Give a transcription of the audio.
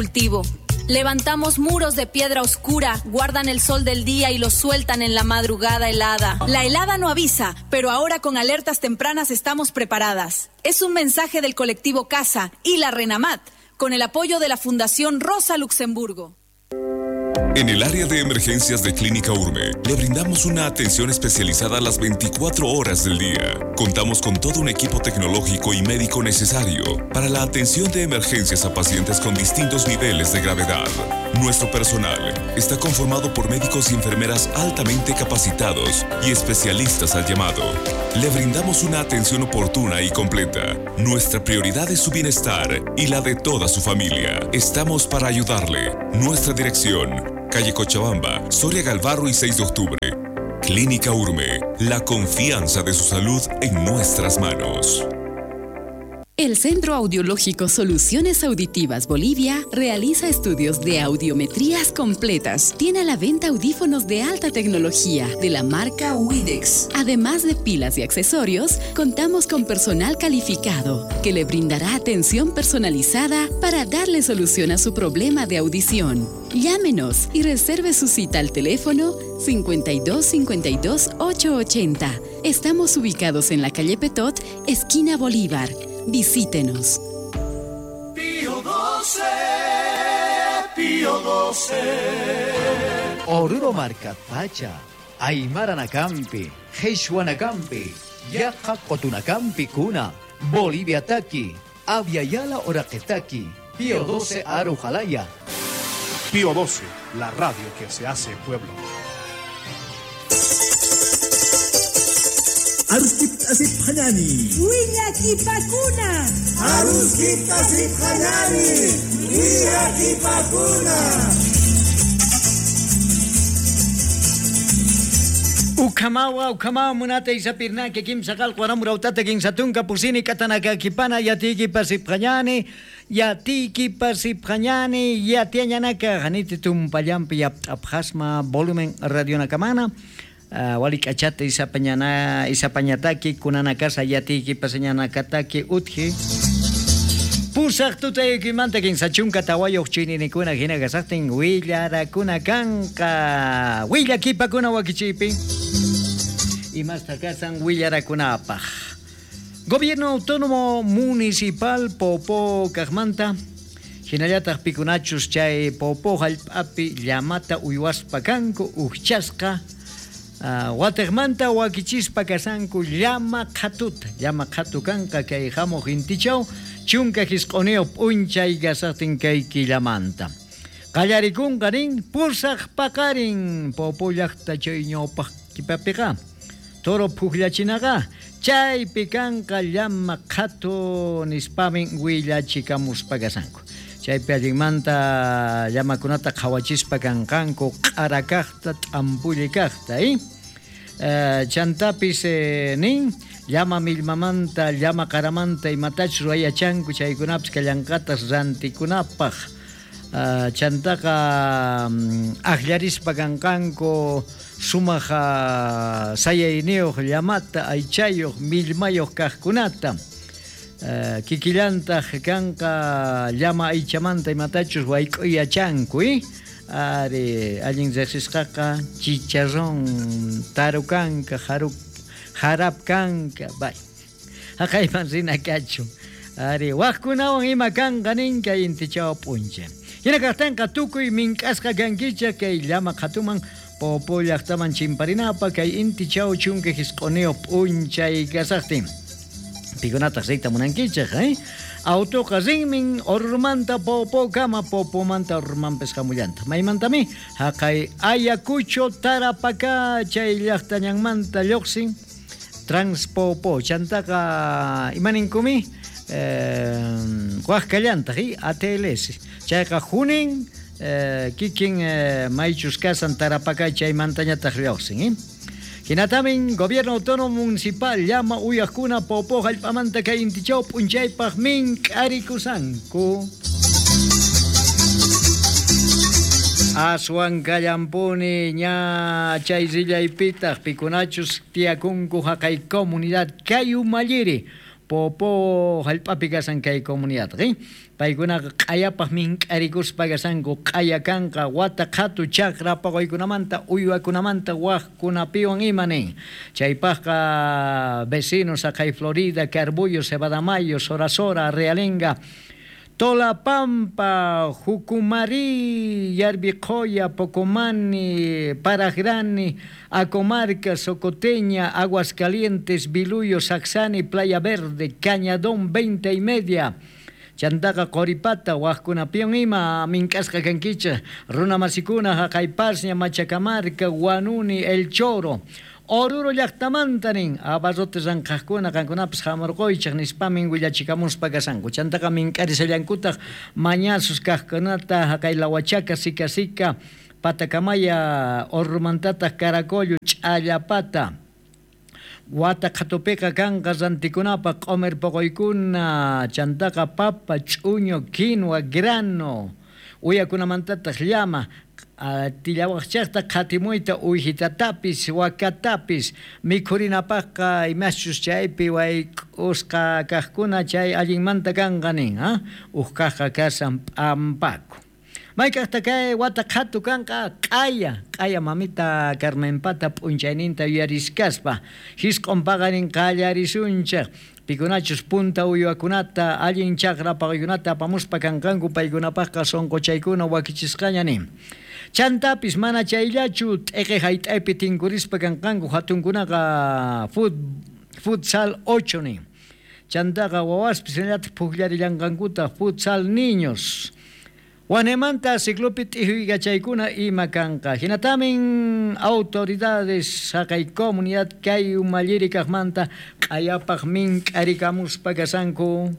Cultivo. Levantamos muros de piedra oscura, guardan el sol del día y los sueltan en la madrugada helada. La helada no avisa, pero ahora con alertas tempranas estamos preparadas. Es un mensaje del colectivo Casa y la Renamat, con el apoyo de la Fundación Rosa Luxemburgo. En el área de emergencias de Clínica Urme, le brindamos una atención especializada a las 24 horas del día. Contamos con todo un equipo tecnológico y médico necesario para la atención de emergencias a pacientes con distintos niveles de gravedad. Nuestro personal está conformado por médicos y enfermeras altamente capacitados y especialistas al llamado. Le brindamos una atención oportuna y completa. Nuestra prioridad es su bienestar y la de toda su familia. Estamos para ayudarle. Nuestra dirección: calle Cochabamba, Soria Galvarro y 6 de octubre. Clínica Urme, la confianza de su salud en nuestras manos. El Centro Audiológico Soluciones Auditivas Bolivia realiza estudios de audiometrías completas. Tiene a la venta audífonos de alta tecnología de la marca Widex. Además de pilas y accesorios, contamos con personal calificado que le brindará atención personalizada para darle solución a su problema de audición. Llámenos y reserve su cita al teléfono 52 52 880. Estamos ubicados en la calle Petot, esquina Bolívar. Visítenos. Pío 12, Pío 12. Oruro Marcapacha, Aymara Nakampi, Jesuanacampi, Yaqa Qotunacampi Kuna, Bolivia Taki, Aviala Oraqetaki, Pío 12 Arujalaya. Pío 12, la radio que se hace pueblo. Aruskip asiphanani. Willakipakuna. Aruskip asiphanani. Willakipakuna. Ukamawa, ukamawa munata isapirnaki kimsakal kwaramurautata kinsatunka pusini katanakakipana yatiki pasiphañani yatiki pasiphañani yatiañanaka janiti tumpallampi yapt'apjasma volumen radionakamana. Walik'achata isapañana isapañataki kunanakasa yatiki pasañanakataki utji pusaq tutaykimanta kinsachunka tawayuq chininikuna hina kasaqtin willarakuna kanqa willakipakuna wakichiypi imasta kasan willarakunapaq. Gobierno Autónomo Municipal Popo kaqmanta hinallataq pikunachus chay Popo hallp'api llamata uywaspa kanku ujchasqa Wategmanta wakichispa kasanku llama qhatuta, llama qhatu kanqa kay hamuq intichaw chunka hisq'uniyuq p'unchay kasaqtin kay killamanta. Qallarikunqa nin pusaq paqarin Popo llaqta chay ñawpaq kipapiqa toro phukllachinaqa chaypi kanqa llama qhatu nispamin willachikamuspa kasanku. Chaypi allinmanta llamakunata qhawachispa kanqanku q'ara kaqta t'ampulli kaqta, chantapis nin llama millmamanta llama qaramanta imatachus ruwayachanku chaykunapis kallanqatas rantikunapaq. Chantaqa aqllarispa kanqanku sumaq sayayniyuq llamata aychayuq millmayuq kaqkunata. Kikillantaq kanqa llama aychamanta imatachus wayk'uyachanku, ari allin riqsisqaqa chicharrón tarukanka jarap kanka bay haqayman rina kachun ari waqkunawan ima kanqa nin kay intichaw p'unchay. Hina kaqtinqa tukuy mink'asqa kankichaq kay llama qhatuman Popo llaqtaman chimparinapa kay intichaw chunka hisq'uniyuq p'unchay kasaqtin. Pikunataq riyta munankichaq, Autoqa rinmin Orurmanta Popokama, Popomanta Orurmanpis hamullanta. Maymantami haqay Ayacucho Tarapacá chay llaqtañanmanta lluqsin Transpopo chantaqa imaninkumi waqkallantaq ATLS chayqa junin kikin maychus kasan Tarapacá chaymantañataq lluqsin. Hinatamin Gobierno Autónomo Municipal llama uyaqkuna Popo hallp'amanta kay intichaw p'unchaypaq mink'arikusanku. Aswan kallampuni ña chay rillaypitaq pikunachus tiyakunku haqay comunidad kay umalliri Popo hallp'api kasan kay comunidad. Paykunaqa q'ayapaq mink'arikuspa kashanku q'aya kanqa wata qhatu chakra paquykunamanta uywakunamanta wajkunapiwan ima nin. Chaypaqqa vecinos haqay Florida, Carbullo, Cebadamayo, Sora Sora, Realenga, Tolapampa, Jucumari, Yarbiqoya, Pocomani, Paragrani, Acomarca, Socoteña, Aguascalientes, Biluyo, Saxani, Playa Verde, Cañadón, 20:30. Chantaqa Qoripata, wajkunapiwan ima mink'asqa kankichej, runa masikuna, haqay Pasña, Machacamarca, Guanuni, El Choro. Oruro llaqtamanta nin, abarrote ranqhaqkuna qankunapis hamurquychej nispamin willachikamuspa kashanku. Chantaqa mink'arisallankutaq mañasus kaqkunata haqay Lawachaka, Sika Sika, Patacamaya, Orurumantataq Caracollo, Ch'allapata. Wata qhatupiqa kanqa rantikunapaq q'umir puquykuna, chantaqa papa, ch'uñu, quinua, grano, uyakunamantataq llama, tillawaqchaqta qhatimuyta uyhitatapis, wakatapis, mikhurinapaqqa imaschus chaypi wayk'usqa kaqkuna chay allinmanta kanqa nin, uj kaqqa kashan p'ampaku. Mayk'aqta kay wata qhatu kanqa q'aya, q'aya mamita Carmenpata p'unchayninta yuyariskaspa, hisq'un paqarin qallarisunchej, pikunachus punta uywakunata allin chakra paquykunata apamuspa kanqanku paykunapaqqa sunquchaykuna wakichisqaña nin. Chantapis mana chayllachu t'eqe hayt'aypi tinkurispa kanqanku hatunkunaqa futsal 8 nin. Chantaqa wawaspis hinallataq pukllarillanqankutaq futsal niños. Wanemanta ciclopi t'ijuykachaykuna ima kanqa. Hinatamin autoridades haqay comunidad kay umalliri kaqmanta q'ayapaq mink'arikamuspa kashanku.